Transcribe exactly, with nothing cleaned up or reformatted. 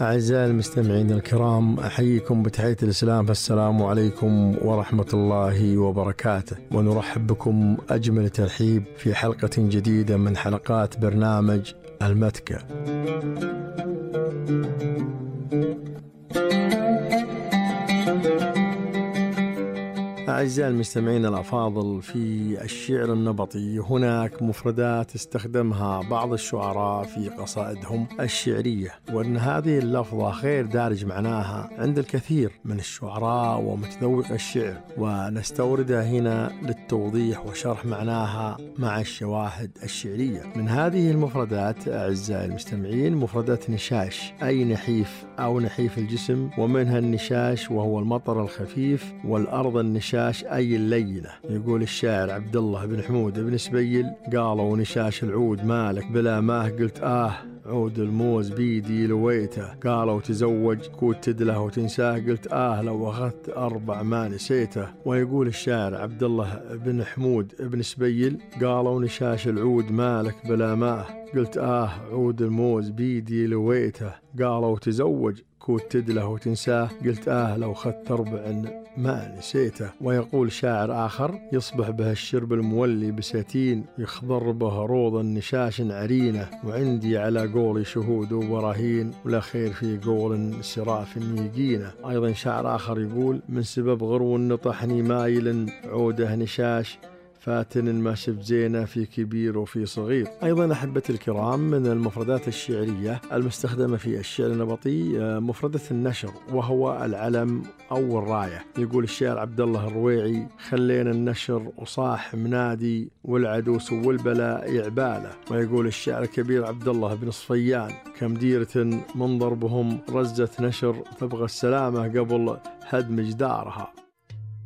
أعزائي المستمعين الكرام، أحييكم بتحية الإسلام، فالسلام عليكم ورحمة الله وبركاته، ونرحب بكم أجمل ترحيب في حلقة جديدة من حلقات برنامج المتكة. أعزائي المستمعين الأفاضل، في الشعر النبطي هناك مفردات استخدمها بعض الشعراء في قصائدهم الشعرية، وأن هذه اللفظة غير دارج معناها عند الكثير من الشعراء ومتذوق الشعر، ونستوردها هنا للتوضيح وشرح معناها مع الشواهد الشعرية. من هذه المفردات أعزائي المستمعين مفردات نشاش، أي نحيف أو نحيف الجسم، ومنها النشاش وهو المطر الخفيف، والأرض النشاش أي اللينة. يقول الشاعر عبد الله بن حمود بن سبيل: قالوا نشاش العود مالك بلا ماه، قلت آه عود الموز بيدي لويته. قالوا تزوج كود تدله وتنساه، قلت آه لو أخذت أربع ما نسيته. ويقول الشاعر عبد الله بن حمود بن سبيل: قالوا نشاش العود مالك بلا ماه، قلت آه عود الموز بيدي لويته. قالوا تزوج كود تدله وتنساه، قلت آه لو خدت أربع ما نسيته. ويقول شاعر آخر: يصبح به الشرب المولي بساتين، يخضر به روض النشاش عرينة، وعندي على قولي شهود وبراهين، ولا خير في قول سراف يقينه. أيضا شاعر آخر يقول: من سبب غرو نطحني مايل، عوده نشاش فاتن ما شف زينة في كبير وفي صغير. أيضا أحبتي الكرام، من المفردات الشعرية المستخدمة في الشعر النبطي مفردة النشر، وهو العلم أو الراية. يقول الشاعر عبد الله الرويعي: خلينا النشر وصاح منادي، والعدو سو البلاء يعباله. ويقول الشاعر الكبير عبد الله بن صفيان: كم ديرة من ضربهم رزة نشر، تبغى السلامة قبل هدم جدارها.